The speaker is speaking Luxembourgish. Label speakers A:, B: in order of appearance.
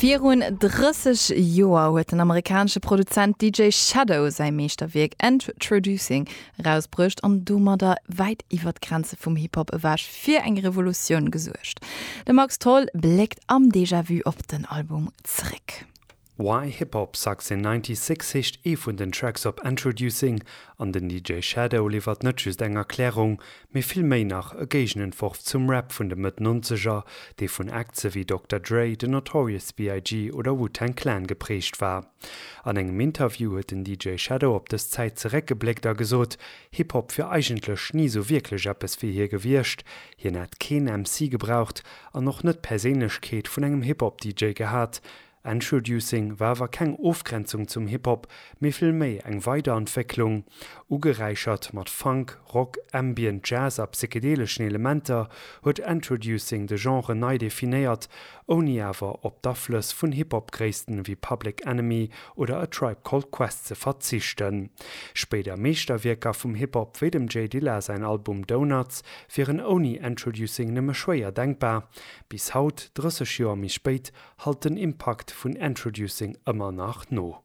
A: Virun 30 Joer huet den amerikanesche Produzent DJ Shadow säi Meeschterwierk Endtroducing erausbruecht an domadder wäit iwwer d'Grenze vum Hip-Hop ewech fir eng Revolutioun gesuergt. De Max Tholl bléckt am Déjà-Vu op den Album zeréck.
B: Why Hip Hop Sucks in 96 heescht ee vun den Tracks op Endtroducing an den DJ Shadow liwwert net just eng Erklärung, mee vill méi nach e Géigenentworf zum Rap vun de Mëtt Nonzeger, dee vun Acts ewéi Dokter Dre, The Notorious BIG. oder Wu-Tang Clan geprägt war. An engem Interview huet den DJ Shadow op dës Zäit zeréckgebléckt a gesot, Hip-Hop wier eigentlech ni sou wierklech eppes fir hie gewiescht. Hien hätt keen MC gebraucht an och net d'Perséinlechkeet vun engem Hip-Hop-DJ gehat. Endtroducing war awer keng Ofgrenzung zum Hip-Hop, mee vill méi eng Weiderentwécklung. Ugeräichert mat Funk, Rock, Ambient, Jazz a psychedeleschen Elementer huet Endtroducing de Genre nei definéiert, ouni awer op d'Aflëss vun Hip-Hop-Gréissten ewéi Public Enemy oder A Tribe Called Quest ze verzichten. Spéider Meeschterwierker vum Hip-Hop wéi dem J Dilla säin Album Donuts wieren ouni Endtroducing nëmme schwéier denkbar. Bis haut, 30 Joer méi spéit, hallt den Impakt vun Endtroducing ëmmer nach no.